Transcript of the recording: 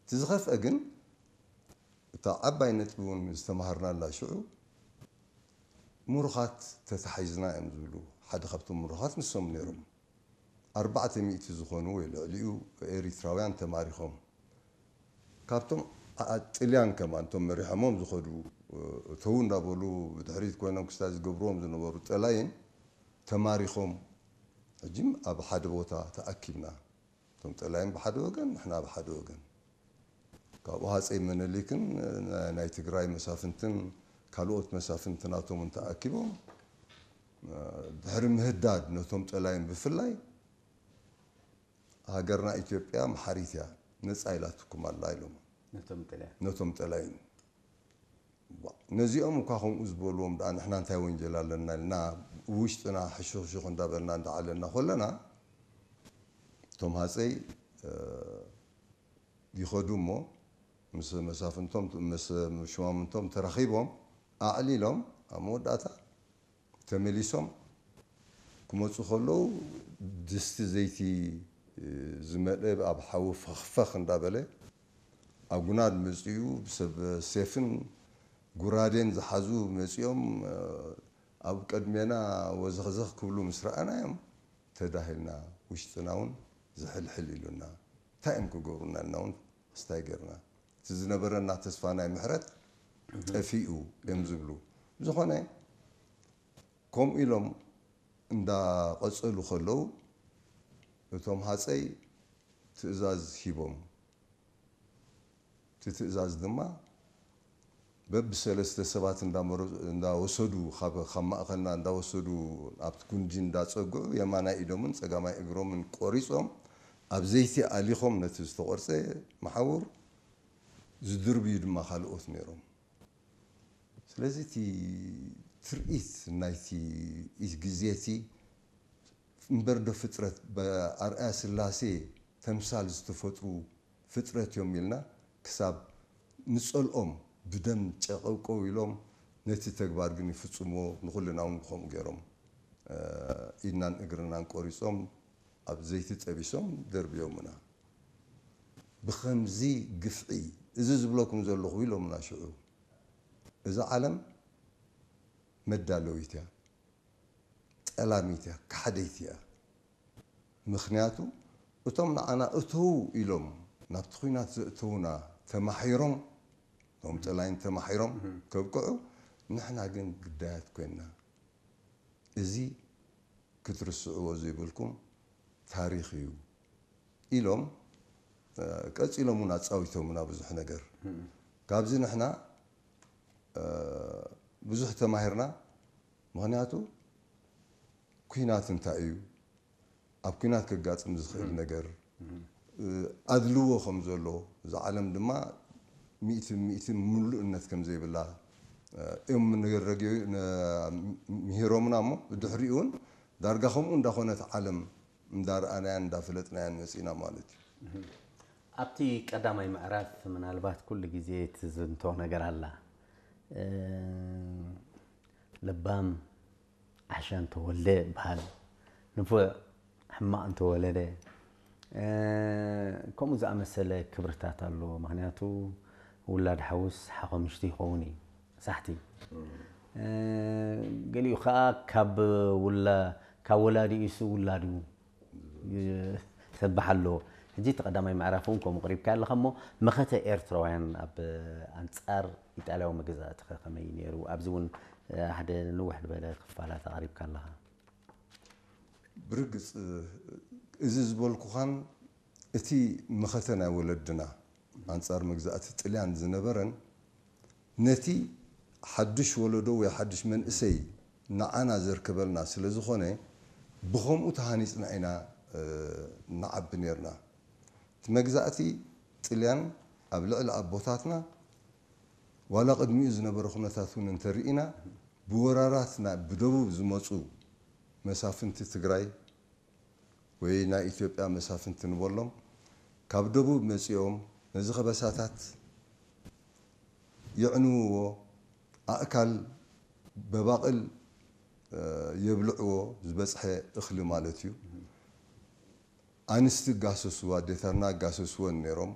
እቲ ዝኸፍአ ግን እታ ዓባይ ነጥቢ እውን ዝተማሃርናላ ሽዑ ምሩኻት ተታሒዝና እዮም ዝብሉ ሓደ ካብቶም ምሩኻት ንሶም ነይሮም። ኣርባዕተ ሚእቲ ዝኾኑ ወይ ልዕሊኡ ኤሪትራውያን ተማሪኾም ካብቶም ጥልያን ከማን እቶም መሪሖሞም ዝኸዱ እተው እንዳበሉ ብድሕሪት ኮይኖም ክስታይ ዝገብርዎም ዝነበሩ ጠላይን ተማሪኾም ሕጂ ኣብ ሓደ ቦታ ተኣኪብና እቶም ጠላይን ብሓደ ወገን ንሕና ብሓደ ወገን ካብኡ ሃፀይ መነሊክን ናይ ትግራይ መሳፍንትን ካልኦት መሳፍንትናቶምን ተኣኪቦም ድሕሪ ምህዳድ ነቶም ጠላይን ብፍላይ ሃገርና ኢትዮጵያ መሓሪት እያ ነፃ ኢላትኩም ኣላ ኢሎም ነቶም ጠላይን ነዚኦም እኳ ከምኡ ዝበልዎም ደኣ ንሕና እንታይ ወንጀል ኣለና ኢልና ውሽጥና ሕሹኽሹኽ እንዳበልና እንዳዓለና ከለና እቶም ሃፀይ ይኸዱ እሞ ምስ መሳፍንቶም ምስ ሽማምንቶም ተራኺቦም ኣዕሊሎም ኣብ መወዳእታ ተመሊሶም ክመፁ ከለዉ ድስቲ ዘይቲ ዝመልአ ኣብ ሓዊ ፈኽፈኽ እንዳበለ ኣጉናድ መፂኡ ሰብ ሴፍን ጉራዴን ዝሓዙ መፂኦም ኣብ ቀድሜና ወዘኽዘኽ ክብሉ ምስ ረኣናዮም ተዳሂልና ውሽጥና እውን ዝሕልሕል ኢሉና እንታይ እዮም ክገብሩና ኢልና እውን ክስታይ ገርና እቲ ዝነበረና ተስፋ ናይ ምሕረት ጠፊኡ እዮም ዝብሉ ብዝኾነ ከምኡ ኢሎም እንዳቐፀሉ ከለዉ እቶም ሃፀይ ትእዛዝ ሂቦም እቲ ትእዛዝ ድማ በብሰለስተ ሰባት እንዳወሰዱ ካብ ማእኸልና እንዳወሰዱ ኣብቲ ጉንዲ እንዳፀግዑ የማናይ ኢዶምን ፀጋማይ እግሮምን ቆሪፆም ኣብ ዘይቲ ኣሊኾም ነቲ ዝተቆርፀ መሓውር ዝድርብዩ ድማ ካልኦት ነይሮም ስለዚ እቲ ትርኢት ናይቲ ግዜ እቲ እምበር ዶ ፍጥረት ብኣርኣያ ስላሴ ተምሳል ዝተፈጥሩ ፍጥረት እዮም ኢልና ክሳብ ንጸልኦም ብደም ጨቀውቀው ኢሎም ነቲ ተግባር ግን ይፍጽምዎ ንኹልና እውን ከምኡ ገይሮም ኢድናን እግርናን ቆሪጾም ኣብ ዘይቲ ጠቢሶም ደርብዮምና ብኸምዚ ግፍዒ እዚ ዝብለኩም ዘለኹ ኢሎምና ሽዑ እዛ ዓለም መዳለዊት እያ ጠላሚት እያ፣ ከሓደይቲ እያ። ምኽንያቱ እቶም ንዓና እተዉ ኢሎም ናብቲ ኲናት ዘእተዉና ተማሒሮም፣ እቶም ጠላይን ተማሒሮም ከብቅዑ፣ ንሕና ግን ግዳያት ኮይንና። እዚ ክትርስዕዎ ዘይብልኩም ታሪኽ እዩ ኢሎም ቀጺሎም እውን ኣጻዊቶምና ብዙሕ ነገር። ካብዚ ንሕና ብዙሕ ተማሂርና። ምኽንያቱ ኲናት እንታይ እዩ? ኣብ ኲናት ከጋጥም ዝኽእል ነገር ኣድልዎ ከም ዘሎ፣ እዛ ዓለም ድማ ሚእቲ ሚእቲ ምሉእነት ከም ዘይብላ እዮም ምሂሮምና እሞ ብድሕሪኡ እውን ዳርጋ ከምኡ እንዳኾነት ዓለም እንዳረኣናያን እንዳፈለጥናያን መፂና ማለት እዩ። ኣብቲ ቀዳማይ ምዕራፍ ምናልባት ኩሉ ግዜ ትዝንቶ ነገር ኣላ። ለባም ዓሻ እንተወልደ ይበሃል፣ ንፉዕ ሕማቕ እንተወለደ፣ ከምኡ ዝኣመሰለ ክብርታት ኣሎ። ምኽንያቱ ውላድ ሓውስ ሓኾምሽቲ ይኸውን እዩ ሳሕቲ። ገሊኡ ከዓ ካብ ውላ ካብ ወላዲኡ እሱ ውላዱ ይሰብሕ ኣሎ። ሕጂ እቲ ቀዳማይ ምዕራፍ እውን ከምኡ ቅሪብካ ኣለኻ እሞ መኸተ ኤርትራውያን ኣብ ኣንጻር ኢጣልያዊ መገዛእቲ ከ ከመይ ነይሩ? ኣብዚ እውን ሓደ ንውሕ ዝበለ ክፋላት ኣቕሪብካ ኣለኻ። ብርግጽ እዚ ዝበልኩኻን እቲ መኸተ ናይ ወለድና ኣንጻር መግዛእቲ ጥልያን ዝነበረን ነቲ ሓድሽ ወለዶ ወይ ሓድሽ መንእሰይ ንዓና ዘርከበልና ስለ ዝኾነ ብኸምኡ ተሃኒፅና ኢና ንዓቢ ነርና። እቲ መግዛእቲ ጥልያን ኣብ ልዕሊ ኣቦታትና ዋላ ቅድሚኡ ዝነበረ ኩነታት እውን እንተርኢና ብወራራት ብደቡብ ዝመፁ መሳፍንቲ ትግራይ ወይ ናይ ኢትዮጵያ መሳፍንቲ ንበሎም ካብ ደቡብ መፂኦም ነዚ ከበሳታት የዕንውዎ ኣእካል በባቕል የብልዕዎ ዝበፅሐ እኽሊ ማለት እዩ። ኣንስቲ ጋሰስዎ ኣዴታትና ጋሰስወን ነይሮም